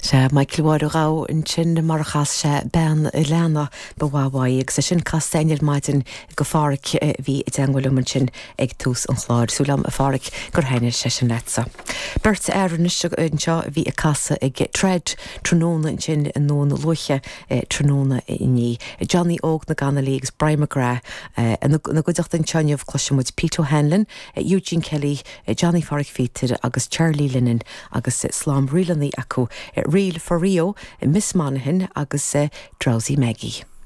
Sea, Michael Mháire Ghabha ansin mar a chas sé Bean a' Leanna, ba mhaith uaidh, agus é sin casta againn ar maidin go Pháraic a bhí i dteangmháil liom ansin ag tús an chláir. Súil agam, a Pháraic, gur thaitnigh sé sin leatsa. Beirt fhear anois anseo a bhí ag casadh ag Trad tráthnóna ansin i nDún Lúiche tráthnóna inné. Johnny Óg na gConnolly agus Brian McGrath ina gcuideachta anseo inniu. Cloisfidh muid Pete O'Hanlon, Eugene Kelly, Johnny Pháraic Phíotair agus Charlie Linnane agus slám ríleanna acu, Reel for Rio, Miss Monaghan agus Drowsy Maggie.